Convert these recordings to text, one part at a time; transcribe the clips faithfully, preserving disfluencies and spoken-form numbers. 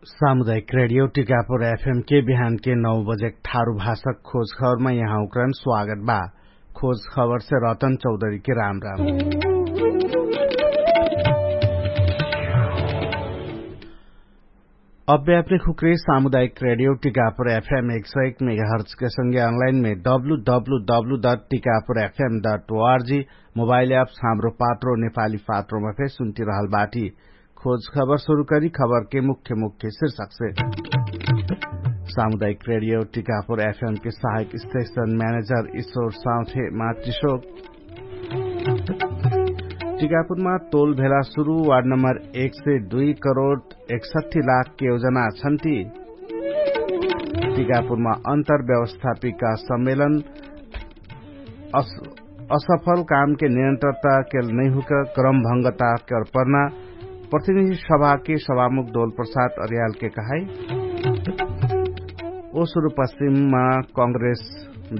सामुदायिक रेडियो टिकापुर एफएम के बिहान के नौ बजे ठारु भाषक खोज खबरमा यहाँ उक्रान स्वागत बा। खोज खबर से रतन चौधरी के राम राम। अब्बे अपने खुक्रे सामुदायिक रेडियो टिकापुर एफएम एक सौ एक मेगाहर्च के संगे अनलाइन में W W W dot Tikapur FM dot ORG mobile apps हाम्रो पात्रो नेपाली पात्रोमा फेर सुन्ति रहल बाटी। खोज खबर सुरु करी खबर के मुख्य मुख्य शीर्षक से। सामुदायिक रेडियो टिकापुर एफएम के सहायक स्टेशन म्यानेजर ईश्वर साउथे मातृशोक। टिकापुरमा तोल भेला सुरु वार्ड नम्बर एक सय दुई करोड एकसट्ठी लाख के योजना छन्ति। टिकापुरमा अन्तर व्यवस्थापिका सम्मेलन असफल कामके निरन्तरता केल नैहुक क्रमभङ्गता केल पर्ना प्रतिनिधि सभाके सभामुख डोल प्रसाद अर्यालके कहाई। ओसुरु पश्चिममा कांग्रेस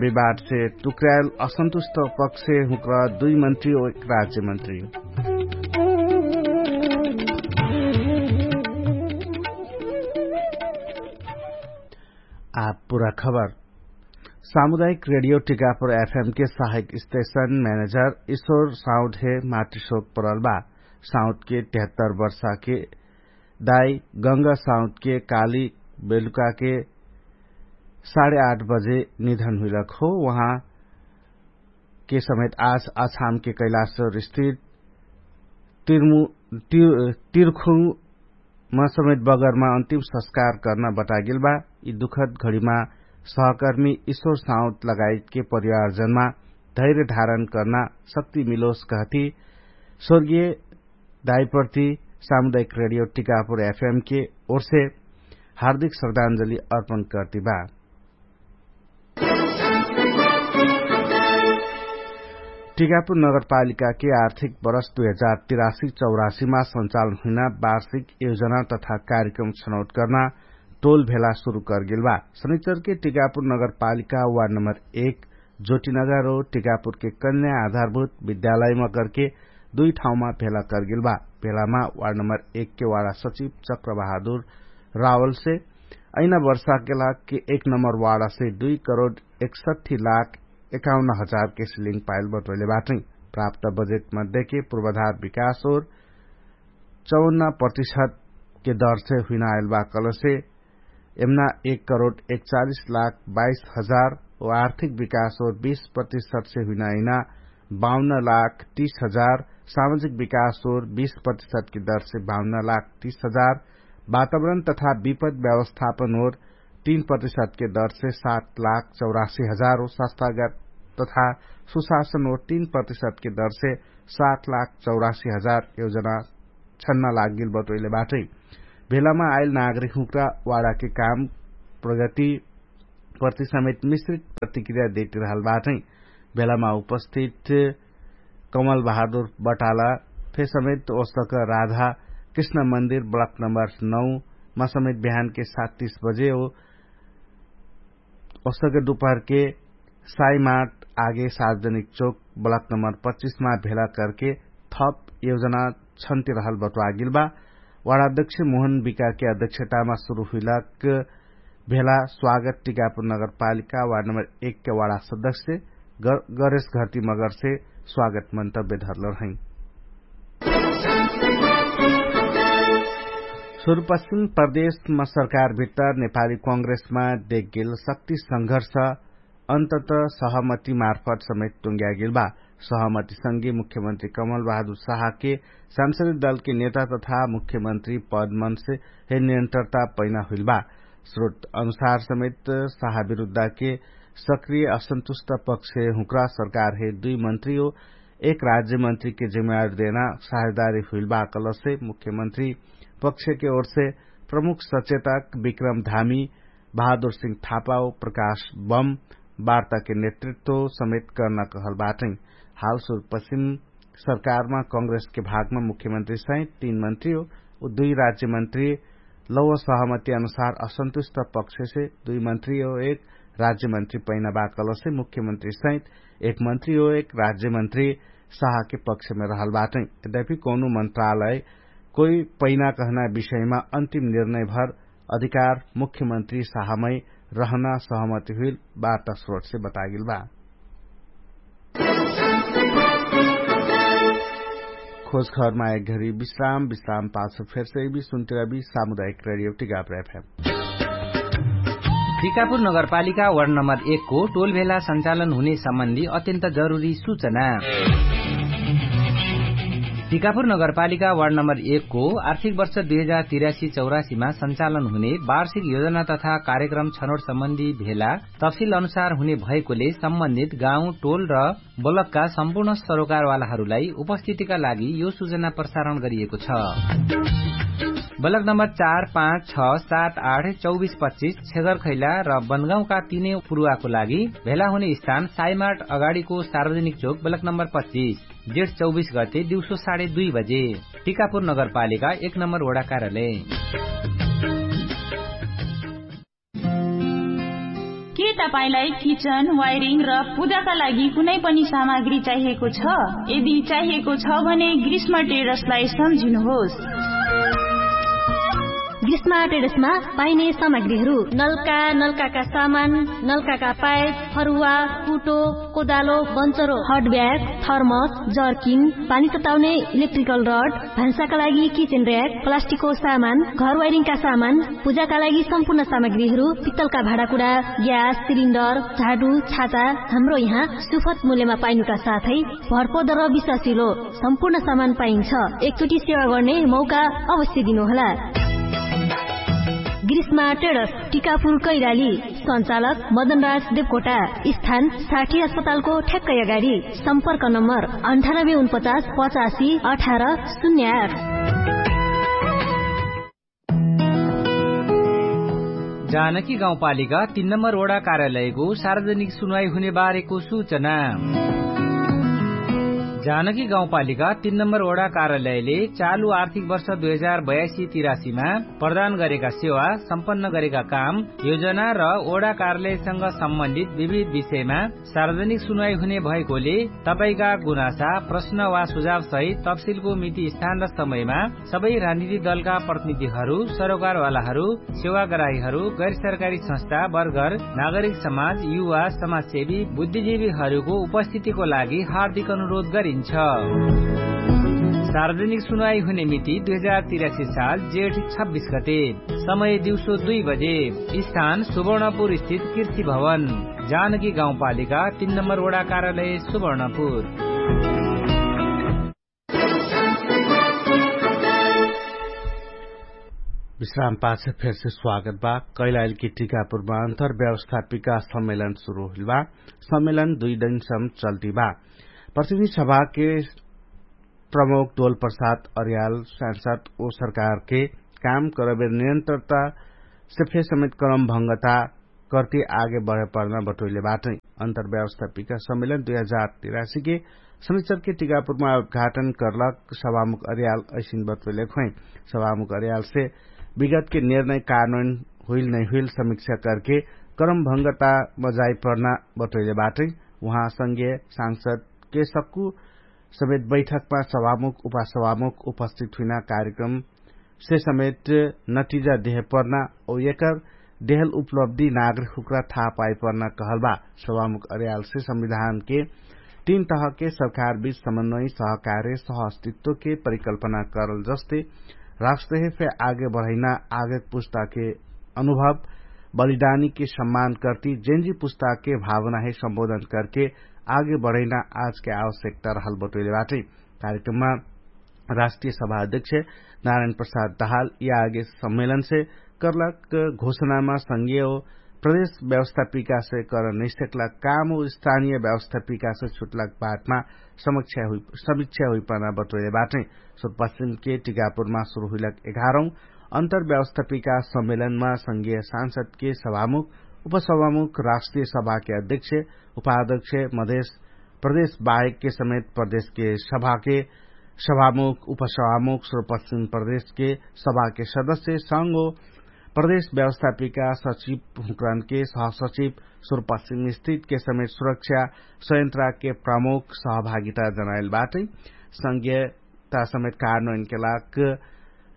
विवादसे टुक्र्याल असन्तुष्ट पक्षे हुँक्र दुई मन्त्री ओ एक राज्यमन्त्री। आ पुरा खबर। सामुदायिक रेडियो टिकापुर एफएम के सहायक स्टेशन म्यानेजर ईश्वर साउद हे मातृशोक परल बा। साउद के तेहत्तर वर्षा के दाई गंगा साउद के काली बेलुका के साढे आठ बजे निधन हुइलक हो। उहाँ के समेत आज अछाम के कैलाश्वर स्थित तिरखुमा समेत बगरमा अन्तिम संस्कार कर्ना बटागेल बा। यि दुखद घडीमा सहकर्मी ईश्वर साउत लगायतके परिवारजनमा धैर्य धारण कर्ना शक्ति मिलोस कहती स्वर्गीय दाइप्रति सामुदायिक रेडियो टिकापुर एफएमके ओर्से हार्दिक श्रद्धाञ्जली अर्पण कर्ति बा। टिकापुर नगरपालिकाके आर्थिक बरस दुई हजार तिरासी चौरासीमा सञ्चालन हुइना वार्षिक योजना तथा कार्यक्रम छनौट कर्ना टोल भेला सुरु कर्गेल बा। शनिचरके टिकापुर नगरपालिका वार्ड नम्बर एक जोटिनगर ओ टिकापुरके कन्या आधारभूत विद्यालयमा कर्के दुई ठाउँमा भेला कर्गेल बा। भेलामा वार्ड नम्बर एकके वाडा सचिव चक्रबहादुर रावलसे अइना वर्षाके लाग के एक नम्बर वाडासे दुई करोड एकसट्ठी लाख एकाउन्न हजार के सिलिङ पाइल बटोइले बाटै। प्राप्त बजेट मध्येके पूर्वाधार विकास ओर चौन्न प्रतिशत के दरसे हुइना आइल बा कलसे एमना एक करोड एकचालिस लाख बाइस हजार ओ आर्थिक विकास ओर बीस प्रतिशत से हुइना आइना बाउन्न लाख तीस हजार सामाजिक विकास ओर बीस प्रतिशत के दरसे बाउन्न लाख तीस हजार वातावरण तथा विपद व्यवस्थापन ओर तीन प्रतिशत के दरसे सात लाख चौरासी हजार ओ संस्थागत तथा सुशासन ओर तीन प्रतिशत के दरसे सात लाख चौरासी हजार योजना छन्ना लागेल बटोइले बाटै। भेलामा आइल नागरिक हुँक्रा वाडाके काम प्रगति प्रति समेत मिश्रित प्रतिक्रिया देटिरहल बाटै। भेलामा उपस्थित कमल बहादुर बटाला फे समेत ओसक राधा कृष्ण मन्दिर ब्लक नम्बर नौ मा समेत बिहानके सात तीस बजे ओ ओसक दुपहरके साइमाट आगे सार्वजनिक चोक ब्लक नम्बर पच्चिसमा भेला करके थप योजना छन्ति रहल बटुवागेल बा। वाडा अध्यक्ष मोहन विकाके अध्यक्षतामा सुरु हुइलक भेला स्वागत टिकापुर नगरपालिका वार्ड नम्बर एकके वाडा सदस्य गरेश घरती मगरसे स्वागत मन्तव्य धरल रहै। सुरुपश्चिम प्रदेशमा सरकार भित्तर नेपाली कांग्रेसमा देखगेल शक्ति संघर्ष अन्तत सहमति मार्फत समेत टुङ्ग्यागेल बा। सहमति संगे मुख्यमन्त्री कमल बहादुर साहके सांसदी दलके नेता तथा मुख्यमन्त्री पदमनसे हे निरन्तरता पैना हुइल बा। स्रोत अनुसार समेत साहा विरुद्धके सक्रिय असन्तुष्ट पक्ष हुँक्रा सरकार हे दुई मन्त्री ओ एक राज्यमन्त्रीके जिम्मेवारी देना साझेदारी हुइल बा कलसे मुख्यमन्त्री पक्षके ओरसे प्रमुख सचेतक विक्रम धामी बहादुर सिंह थापा ओ प्रकाश बम वार्ताके नेतृत्व समेत कर्ना कहल बाटै। हाल सुरुपश्चिम सरकारमा कांग्रेसके भागमा मुख्यमन्त्री सहित तीन मन्त्री ओ दुई राज्यमन्त्री लौव सहमति अनुसार असन्तुष्ट पक्षसे दुई मन्त्री ओ एक राज्यमन्त्री पैना बा कलसे मुख्यमन्त्री सहित एक मन्त्री ओ एक राज्यमन्त्री साहके पक्षमे रहल बाटै। यद्यपि कौनो मन्त्रालय कोइ पैना कहना विषयमा अन्तिम निर्णय भर अधिकार मुख्यमन्त्री साहमै रहना सहमति हुइल वार्ता स्रोटसे बतागेल बा। खोजखबरमा एक घरी विश्राम विश्राम पाछ फेरसे भी सुन्तिरबी सामुदायिक रेडियो टिकापुर एफएम। टिकापुर नगरपालिका वार्ड नम्बर एक को टोल भेला सञ्चालन हुने सम्बन्धी अत्यन्त जरुरी सूचना। टिकापुर नगरपालिका वार्ड नम्बर एक को आर्थिक वर्ष दुई हजार तिरासी चौरासीमा सञ्चालन हुने वार्षिक योजना तथा कार्यक्रम छनोट सम्बन्धी भेला तफसिल अनुसार हुने भएकोले सम्बन्धित गाउँ टोल र ब्लकका सम्पूर्ण सरोकारवालाहरूलाई उपस्थितिका लागि यो सूचना प्रसारण गरिएको छ। ब्लक नम्बर चार पाँच छ सात आठ चौबिस पच्चिस छेगर खैला र बनगाउँका तिनै पुरुवाको लागि भेला हुने स्थान साइमार्ट अगाडिको सार्वजनिक चोक ब्लक नम्बर पच्चिस, जेठ चौबिस गते दिउँसो साढे दुई बजे। टिकापुर नगरपालिका एक नम्बर वडा कार्यालय। के तपाईंलाई किचन वायरिङ र पूजाका लागि कुनै पनि सामग्री चाहिएको छ? यदि चाहिएको छ भने ग्रीष्म टेरसलाई सम्झिनुहोस्। ग्रीष्म टेरसमा पाइने सामग्रीहरू नलका नलकाका सामान, नलकाका पाइप, फरुवा, कुटो, कोदालो, बन्चरो, हट ब्याग, थर्मस, जर्किन, पानी तताउने इलेक्ट्रिकल रड, भान्साका लागि किचन र्याक, प्लास्टिकको सामान, घर वायरिङका सामान, पूजाका लागि सम्पूर्ण सामग्रीहरू, पित्तलका भाँडाकुडा, ग्यास सिलिन्डर, झाडु, छाता, हाम्रो यहाँ सुफत मूल्यमा पाइनुका साथै भरपर्दो र विश्वासिलो सम्पूर्ण सामान पाइन्छ। एकचोटि सेवा गर्ने मौका अवश्य दिनुहोला। ग्रीष्मा टेडस, टिकापुर कैलाली। सञ्चालक मदनराज देवकोटा। स्थान साठी अस्पतालको ठ्याक्कै अगाडि। सम्पर्क नम्बर अन्ठानब्बे उनपचास पचासी अठार शून्य आठ। जानकी गाउँपालिका तीन नम्बर वडा कार्यालयको सार्वजनिक सुनवाई हुने बारेको सूचना। जानकी गाउँपालिका तीन नम्बर वडा कार्यालयले चालु आर्थिक वर्ष दुई हजार बयासी तिरासीमा प्रदान गरेका सेवा, सम्पन्न गरेका काम, योजना र वडा कार्यालयसँग सम्बन्धित विविध विषयमा सार्वजनिक सुनवाई हुने भएकोले तपाईंका गुनासा, प्रश्न वा सुझाव सहित तफसिलको मिति, स्थान र समयमा सबै राजनीतिक दलका प्रतिनिधिहरू, सरोकारवालाहरू, सेवाग्राहीहरू, गैर सरकारी संस्था, वर्गर, नागरिक समाज, युवा, समाजसेवी, बुद्धिजीवीहरूको उपस्थितिको लागि हार्दिक अनुरोध गरिन्छ। सार्वजनिक सुनवाई हुने मिति दुई हजार तिरासी साल जेठ छब्बिस गते। समय दिउँसो दुई बजे। स्थान सुवर्णपुर स्थित कृषि भवन। जानकी गाउँपालिका तीन नम्बर वडा कार्यालय सुवर्णपुर। विश्राम पाछ फेरसे स्वागत बा। कैलाइल की टिकापुरमा अन्तर व्यवस्थापिका सम्मेलन सुरु हुइल बा। सम्मेलन दुई दिनसम चल्ती बा। प्रतिनिधि सभाके प्रमुख दोल प्रसाद अर्याल सांसद ओ सरकारके काम करबे निरन्तरता से फेर समेत करम भङ्गता करती आगे बढे पर्ना बटोइले बाटै। अन्तर्व्यवस्थापिका सम्मेलन दुई हजार तिरासीके शनिचरके टिकापुरमा उद्घाटन करलक सभामुख अर्याल ऐसिन बटोइले खोइ। सभामुख अर्यालसे विगतके निर्णय कानून हुइल नैहुइल समीक्षा करके करम भङ्गता मजाइ पर्ना बटोइले बाटै। उहाँ संगे सांसदके सक्कु समेत बैठकमा सभामुख उपसभामुख उपस्थित हुइना कार्यक्रम से समेत नटिजा देह पर्ना औ एकर देहल उपलब्धि नागरिक हुक्रा थाहा पाइ पर्ना कहल बा। सभामुख अर्यालसे संविधानके तीन तहके सरकारबीच समन्वय सहकार्य सहअस्तित्वके परिकल्पना करल जस्ते राष्ट्रहे फे आगे बढैना आगे पुस्ताके अनुभव बलिदानीके सम्मान करती जेन्जी पुस्ताके भावनाहे सम्बोधन करके आगे बढैना आजके आवश्यकता रहल बटोइले बाटै। कार्यक्रममा राष्ट्रिय सभा अध्यक्ष नारायण प्रसाद दहाल यि आगे सम्मेलनसे करलक घोषणामा संगीय प्रदेश व्यवस्थापिकासे कर नैसकला काम स्थानीय व्यवस्थापिकासे छुटलक बाटमा समीक्षा हुइपना बटोइले बाटै। सुरपश्चिमके टिकापुरमा सुरु हुइलक एघारौं अन्तर्व्यवस्थापिका सम्मेलनमा संगीय सांसदके सभामुख उपसभामुख राष्ट्रिय सभाके अध्यक्ष उपाध्यक्ष मधेश प्रदेश बाहेकके समेत प्रदेशके सभाके सभामुख उपसभामुख सुरपश्चिम प्रदेशके सभाके सदस्य संगो प्रदेश व्यवस्थापिका सचिव हुँकरानके सहसचिव सुरपश्चिम स्थितके समेत सुरक्षा संयन्त्राके प्रमुख सहभागिता जनाइल बाटै। संगीयता समेत कारणोइनके लाग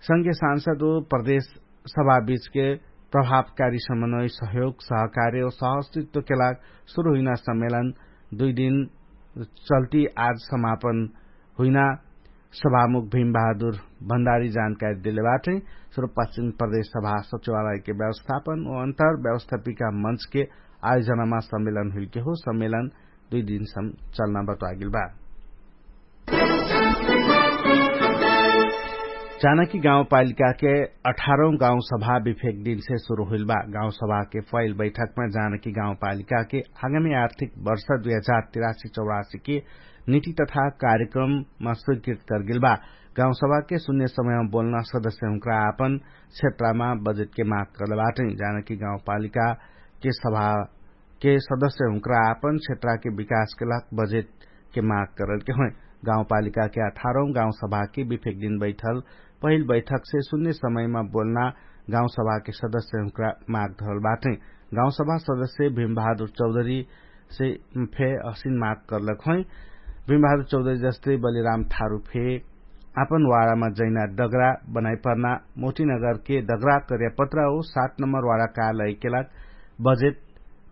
संगीय सांसद ओ प्रदेश सभाबीचके प्रभावकारी समन्वय सहयोग सहकार्य ओ सहस्तित्वके लाग सुरु हुइना सम्मेलन दुइ दिन चल्ती आज समापन हुइना सभामुख भीमबहादुर भण्डारी जानकारी देले बाटै। सुरुपश्चिम प्रदेश सभा सचिवालयके व्यवस्थापन ओ अन्तर व्यवस्थापिका मञ्चके आयोजनामा सम्मेलन हुइलके हो सम्मेलन दुइ दिनसम चल्ना बतुवागेल बा। जानकी गाउँपालिकाके अठारौँ गाउँसभा विफेक दिनसे सुरु हुइल बा। गाउँसभाके फैल बैठकमा जानकी गाउँपालिकाके आगामी आर्थिक वर्ष दुई हजार तिरासी चौरासीके निति तथा कार्यक्रममा स्वीकृत करगेल बा। गाउँसभाके सुन्ने समयमा बोल्न सदस्यहुँक्रा आपन क्षेत्रमा बजेटके माग करले बाटै। जानकी गाउँपालिकाके सभा के सदस्यहुँक्रा आपन क्षेत्राके विकासके लाग बजेटके माग करलके होइ। गाउँपालिकाके अठारौँ गाउँसभाके विफेक दिन बैठल पहिल बैठकसे सुन्ने समयमा बोल्ना गाउँसभाके सदस्यहुँक्रा माग धरल बाटै। गाउँसभा सदस्य भीमबहादुर चौधरीसे फे असिन माग करलक होइ। भीमबहादुर चौधरी जस्तै बलिराम थारु फे आपन वाडामा जैना डगरा बनाइपर्ना मोटिनगरके डगरा कर्यापत्रा ओ सात नम्बर वाडा कालैके लाग बजेट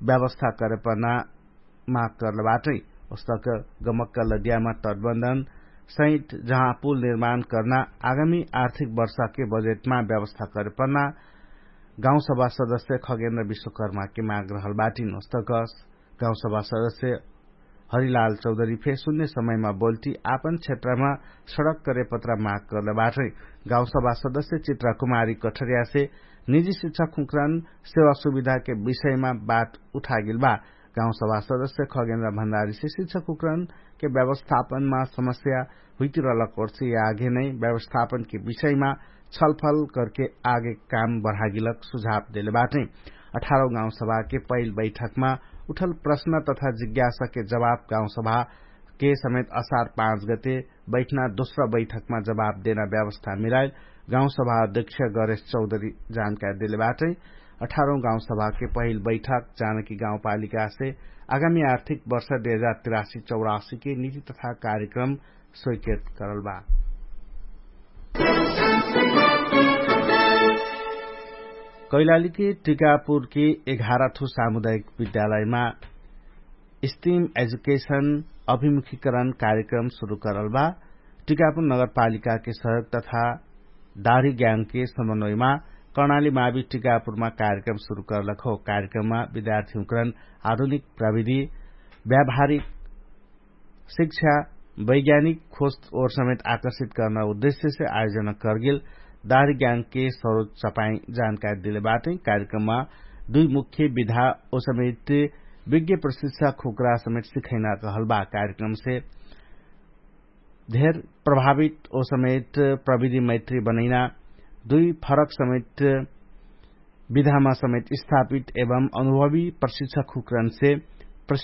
व्यवस्था करेपना माग करले बाटै। ओस्तक गमक्क लदियामा तटबन्धन सहित जहाँ पुल निर्माण कर्ना आगामी आर्थिक वर्षाके बजेटमा व्यवस्था करेपना गाउँसभा सदस्य खगेन्द्र विश्वकर्माके माग रहल बाटिन। ओस्तक गाउँसभा सदस्य हरिलाल चौधरी फे सुन्ने समयमा बोल्टी आपन क्षेत्रमा सडक करेपत्रा माग करले बाटै। गाउँसभा सदस्य चित्रा कुमारी कठरियासे निजी शिक्षक हुँक्रन सेवा सुविधाके विषयमा बात उठागेल बा। गाउँसभा सदस्य खगेन्द्र भण्डारीसे शिक्षक हुँक्रनके व्यवस्थापनमा समस्या हुइतिरलक ओर्से आगे नै व्यवस्थापनके विषयमा छलफल करके आगे काम बढागेलक सुझाव देले बाटै। अठारौँ गाउँसभाके पहिल बैठकमा उठल प्रश्न तथा जिज्ञासाके जवाफ गाउँसभाके समेत असार पाँच गते बैठना दोस्रा बैठकमा जवाफ देना व्यवस्था मिलाइल गाउँसभा अध्यक्ष गरेश चौधरी जानकारी देले बाटै। अठारौँ गाउँसभाके पहिल बैठक जानकी गाउँपालिकासे आगामी आर्थिक वर्ष दुई हजार तिरासी चौरासीके निति तथा कार्यक्रम स्वीकृत करल बा। कैलालीके टिकापुरके एघारथु सामुदायिक विद्यालयमा स्टिम एजुकेशन अभिमुखीकरण कार्यक्रम सुरु करल बा। टिकापुर नगरपालिकाके सहयोग तथा दाढी ज्ञानके समन्वयमा कर्णाली मावि टिकापुरमा कार्यक्रम सुरु करलक हो। कार्यक्रममा विद्यार्थीहुँकरण आधुनिक प्रविधि व्यावहारिक शिक्षा वैज्ञानिक खोज ओर समेत आकर्षित कर्ना उद्देश्यसे आयोजना करगेल दाढी ज्ञानके सरोज चपाई जानकारी देले बाटै। कार्यक्रममा दुइ मुख्य विधा ओ समेत विज्ञ प्रशिक्षा खुक्रा समेत सिखैना रहल बा। कार्यक्रमसे धेर प्रभावित ओ समेत प्रविधि मैत्री बनैना दुइ फरक समेत विधामा समेत स्थापित एवं अनुभवी प्रशिक्षा खुक्रनसे